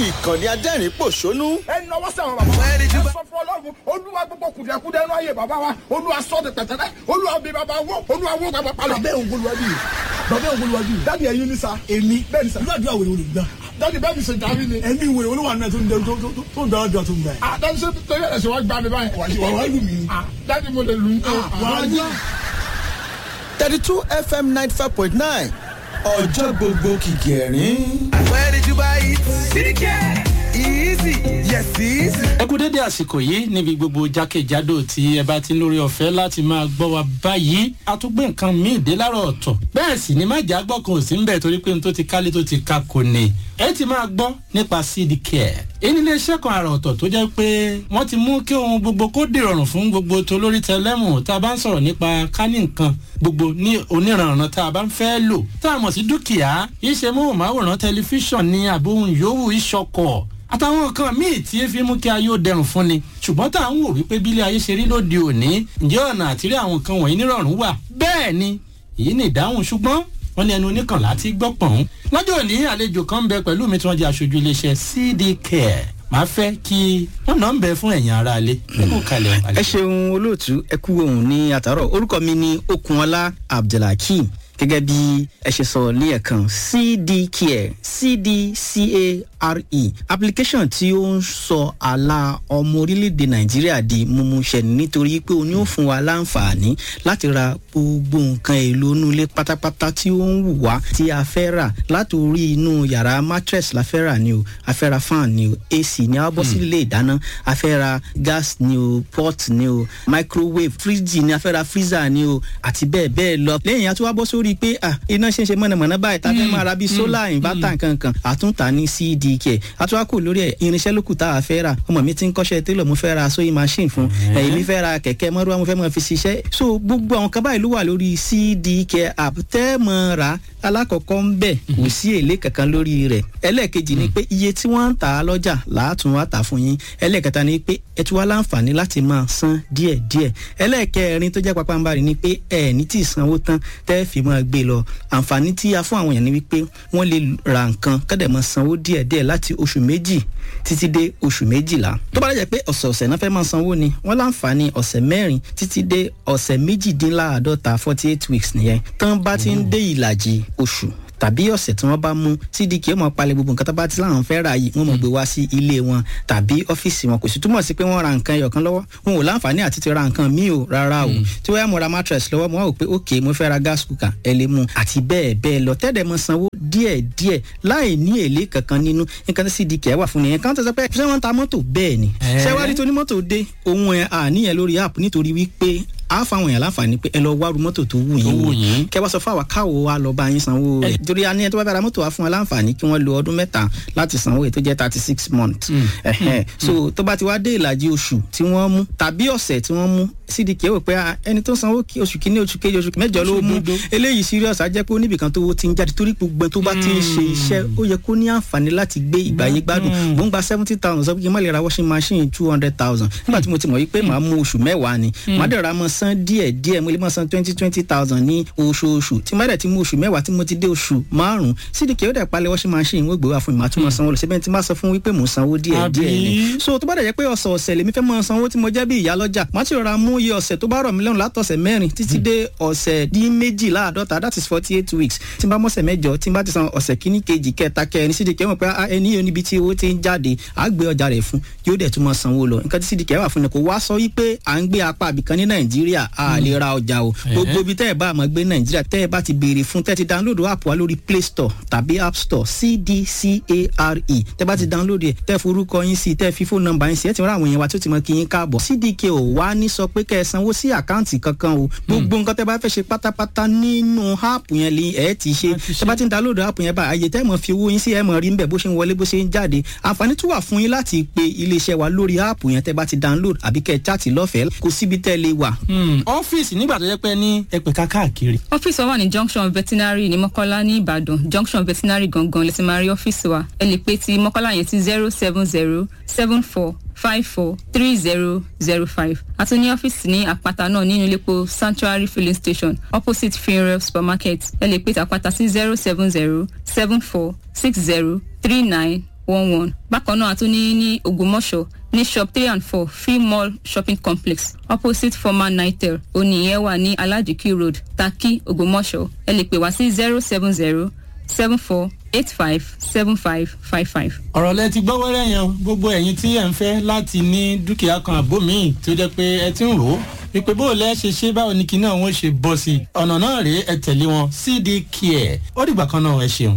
Ìkànnì adẹ́rìn pòṣónú. Ẹ nọwọ́ sẹ́wọ̀n bàbá wa. Ẹ sọ fún Ọlọ́run, Olúwa, gbogbo kùdìẹ̀kudẹ inú ayé bàbá wa, Olúwa, sọ ti pẹ̀tẹ́lẹ̀. Olúwa, bí bàbá wó, Olúwa, wó bàbá palọ̀. Bàbá òun olùwájú yìí, bàbá òun olùwájú yìí. Daddy, ẹ̀yin ni sir. Èmi? Bẹ́ẹ̀ ni sir. Irú àdúrà wèrè olùgbà? Daddy, bẹ́ẹ̀ mi ṣe jàmí ni. Ẹ̀mí wèrè olúwa náà tó ń dẹ tó ń dára tó ń gbà yẹn. Ah, daddy, ṣe torí ẹ̀ ṣe wá gbá mi báyìí? Wà wá lù mí. Ah, daddy, mo lè lù ú. Wà á lù. 32 FM 95.9, ọjọ́ gbogbo kìkì ẹ̀rín. Where did you buy it? Easy. Yes, easy. Ẹ kú dédé àsìkò yìí níbi gbogbo jákèjádò tí ẹ bá ti ń lórí ọ̀fẹ́ láti máa gbọ́ wa báyìí. A tún gbé nǹkan míì dé láàárọ̀ ọ̀tọ̀, bẹ́ẹ̀ sì ni má jà gbọ́ kan ò sí ń bẹ̀, torí pé n tó ti kálé tó ti ka kò ní. Ẹ ti máa gbọ́ nípa Seed Care. Èyí ní iléeṣẹ́ kan àrà ọ̀tọ̀ tó jẹ́ pé wọ́n ti mú kí ohun gbogbo kó dìrọ̀rùn fún gbogbo tolórí tẹlẹ́mù. Tá a bá ń sọ̀rọ̀ nípa kání nǹkan gbogbo ní oníranran tá a bá ń fẹ́ lò tá a mọ̀ sí dúkìá, iṣẹ́ móhùnmáwòrán, tẹlifíṣàn ní àbóhùn yòówù, ìṣọkọ̀ àtàwọn nǹkan míì tí fi mú kí ayé ó dẹrùn fún ni. Ṣùgbọ́n tá à ń wò wípé bílé ayé ṣe rí lóde òní, ǹjẹ́ ọ̀nà àtìrí àwọn nǹkan wọ̀nyí nírọ̀rùn wà? Bẹ́ẹ̀ ni, èyí ni ìdáhùn. Ṣùgbọ́n wọ́n ní ẹnu oníkànlá ti gbọ́ pọ̀n. Lọ́jọ́ òní, àlejò kan ń bẹ pẹ̀lú mi tí wọ́n jẹ́ aṣojú iléeṣẹ́ CD Care. Màá fẹ́ kí wọ́n nà ń bẹ fún ẹ̀yin ará ilé. Ẹ kú kalẹ̀. Ẹ ṣeun, olóòtú. Ẹ kú ohun ní àtàrọ. Orúkọ mi ni Okunọlá Abdulhakeem. Gẹ́gẹ́ bí ẹ ṣe sọ ní ẹ̀kan, CDCare, CDCARE, application tí ó ń sọ àlà ọmọ orílẹ̀-èdè Nàìjíríà di mímúṣẹ, nítorí pé o ní ó fún wa láǹfààní láti ra gbogbo nǹkan èlò inú ilé pátápátá tí ó ń wù wá tí a fẹ́ rà. Látòrí inú yàrá, mattress la fẹ́ rà ni o, a fẹ́ ra fan ni o, AC ni, a bọ́ sí ilé ìdáná, a fẹ́ ra gas ni o, pot ni o, microwave, fridge ni, a fẹ́ ra freezer ni o, àti bẹ́ẹ̀ bẹ́ẹ̀ lọ. Lẹ́yìn, a tún wá bọ́ sórí pé iná ṣe ń ṣe mọ̀nàmọ́ná báyìí, tá a fẹ́ máa ra bíi solar inverter nkankan, àtúntà ní CDK. Àtúwá kò lórí ẹ̀, irinṣẹ́ lókù tá a fẹ́ rà. Ọmọ mi ti ń kọ́ṣẹ́ télọ̀, mo fẹ́ ra sewing machine fún ẹ̀yìn, mi fẹ́ ra kẹ̀kẹ́ mọ́rúwá, mo fẹ́ máa fi ṣiṣẹ́. So gbogbo àwọn kan báyìí ló wà lórí CDK app tẹ́ mọ́ ra. Alákọ̀ọ́kọ́ ń bẹ̀, kò sí èlé kankan lórí rẹ̀. Ẹlẹ́ẹ̀kejì ni pé iye tí wọ́n ń tà á lọ́jà làátún wá tà fún yín. Ẹlẹ́ẹ̀kẹta ni pé ẹ tún wá láǹfààní láti máa san díẹ̀díẹ̀. Ẹlẹ́ẹ̀kẹrin tó jẹ́ pàpàǹbarì ni pé ẹ ní tí ì sanwó tán tẹ́ fi máa gbé lọ. Àǹfààní tí a fún àwọn èèyàn ni wípé wọ́n lè ra nǹkan kọ́dẹ̀ máa sanwó díẹ̀díẹ̀ láti oṣù 2 títí dé oṣù 12. Tó bá dẹ̀ jẹ́ pé ọ̀sẹ̀ọ̀sẹ̀ náà fẹ́ máa sanwó ni, wọ́n láǹfààní ọ̀sẹ̀ 4 títí dé ọ̀sẹ̀ 48, 48 weeks nìyẹn. Tán bá ti ń dé ìlàjì oṣù tàbí ọ̀sẹ̀ tí wọ́n bá mú, CDK ó máa palẹ̀ gbogbo nǹkan tó bá ti láwọn fẹ́ rà yìí, wọ́n máa gbé wá sí ilé wọn tàbí ọ́fíìsì wọn. Kò sì túmọ̀ sí pé wọ́n ra nǹkan ẹyọ̀kan lọ́wọ́, wọn ò láǹfààní àti ti ra nǹkan míì o, rárá o. Tí wọ́n yá mo ra mattress lọ́wọ́, mo wá wò pé ok, mo fẹ́ ra gas cooker, ẹ lè mú, àti bẹ́ẹ̀ bẹ́ẹ̀ lọ, tẹ́lẹ̀ mọ sanwó díẹ̀ díẹ̀ láì ní èlé kankan nínú. Nǹkan tí CDK wà fún nìyẹn. Kan tó sọ pé ṣé wọ́n ń ta mọ́tò? Bẹ́ẹ̀ ni. Ṣé wàá rí tó ní mọ́tò dé ohun ẹ̀ àníyàn lórí app, nítorí wípé a fáwọn èèyàn láǹfààní pé ẹ lọ wárú mọ́tò tó wù yín wò, kẹ wá sọ fún àwa káwo wa lọ bá yín sanwó rẹ̀, torí a ní ẹni tó bá fẹ́ ra mọ́tò wa fún wa láǹfààní kí wọ́n lo ọdún 3 láti sanwó rẹ̀, tó jẹ́ 36 months. So tó bá ti wá dé ìlàjì oṣù tí wọ́n mú tàbí ọ̀sẹ̀ tí wọ́n mú, CDK wò pé ẹni tó sanwó oṣù kìíní, oṣù kejì, oṣù mẹ́jọ ló mú, eléyìí serious, á jẹ́ pé oníbìkan tó ti ń jáde, torí gbogbo tó bá ti ń ṣe iṣẹ́, ó yẹ kó ní àǹfààní láti gbé ìgbàyé gbádùn. Mò ń gba 70,000, sọ pé kí n má lè ra washing machine 200,000? Nígbà tí mo ti mọ̀ wípé màá mú oṣù 10 ni, màá dẹ̀ ra mọ́ san díẹ̀ díẹ̀, mo lè máa san twenty twenty thousand ní oṣooṣù. Tí má dẹ̀ ti mú oṣù 10 tí mo ti dé oṣù 5, CDK ó dẹ̀ palẹ̀ washing machine, wọ́n gbé wá fún mi, màá tún máa sanwó lọ síbẹ̀. Tí má sọ fún wípé mò ń sanwó díẹ̀ díẹ̀ ni. So tó bá dẹ̀ jẹ́ pé ọ̀sẹ̀ ọ̀sẹ̀ lèmi fẹ́ máa sanwó, tí mo jẹ́ bí ìyá lọ́jà, má ti rọra mú iye ọ̀sẹ̀ tó bá rọ̀ mí lọ́rùn látọ̀sẹ̀ 4 títí dé ọ̀sẹ̀ dín méjìláàdọ́ta, that is 48 weeks. Tí n bá mọ̀sẹ̀ 8, tí n bá ti san ọ̀sẹ̀ kíní, kejì, kẹta, kẹrin, CDK mọ̀ pé ẹni yóò níbi tí owó ti ń jáde, á gbé ọjà rẹ̀ fún, yóò dẹ̀ tún máa sanwó lọ. Nǹkan tí CDK wà fún ni kò wá sọ wípé à ń gbé apá àbìkan ní Nàìjíríà a lè ra ọjà o. Gbogbo ibi tẹ́ ẹ bá máa gbé Nàìjíríà, tẹ́ ẹ bá ti béèrè fún, tẹ́ ti download app wa lórí Play Store tàbí App Store, CDCARE, tẹ́ bá ti download ẹ̀, tẹ́ forúkọ yín sí, tẹ́ fi fóònù nọ́mbà yín sí, ẹ ti rán àwọn èèyàn wa tó ti mọ kí yín káàbọ̀. CDK ò wá ní sọ pé kẹ́ ẹ sanwó sí àkáǹtì kankan o. Gbogbo nǹkan tẹ́ bá fẹ́ ṣe pátápátá nínú app yẹn lè ẹ ti ṣe. Tẹ́ bá ti ń download app yẹn bá, àyè tẹ́ mọ̀ fi owó yín sí, ẹ mọ̀ rí nbẹ̀ bó ṣe ń wọlé, bó ṣe ń jáde. Àǹfààní tún wà fún yín láti pe iléeṣẹ́ wa lórí app yẹn tẹ́ bá ti download, àbí kẹ́ ẹ chat lọ́fẹ̀ẹ́. Kò síbi tẹ́ lè wà. Ọ́fíìsì, nígbà tó yẹ pé ní ẹ̀pẹ̀ka káàkiri. Ọ́fíìsì wa wà ní Junction Veterinary ní Mọ́kọ́lá ní Ìbàdàn. Junction Veterinary gangan lè ti máa rí ọ́fíìsì wa. Ẹ lè pe ti Mọ́kọ́lá yẹn sí 07074543005. A tún ní ọ́fíìsì ní Àpáta náà, nínú iléepo Sanctuary filling station, opposite Funeral supermarket. Ẹ lè pe ti Àpáta sí 070746039 11. Bákan náà a tún ní ní Ògbómọ̀ṣọ́ ní shop 3 and 4, Free Mall Shopping Complex, opposite former Nitel, oníyẹn wà ní Alajiki Road, Taki, Ògbómọ̀ṣọ́. Ẹ lè pè wá sí 07074857555. Ọ̀rọ̀ lẹ ti gbọ́ wẹ́rẹ́ yẹn o. Gbogbo ẹ̀yin tí ẹ̀ ń fẹ́ láti ní dúkìá kan àbó míì tó jẹ́ pé ẹ ti ń rò ó wípé bó o lẹ́ ṣe ṣe, báwo ni kinní ọ̀hún ṣe bọ́ sí i, ọ̀nà náà rèé, ẹ tẹ̀lé wọn, CD Care. Ó dìgbà kan náà, ẹ ṣeun.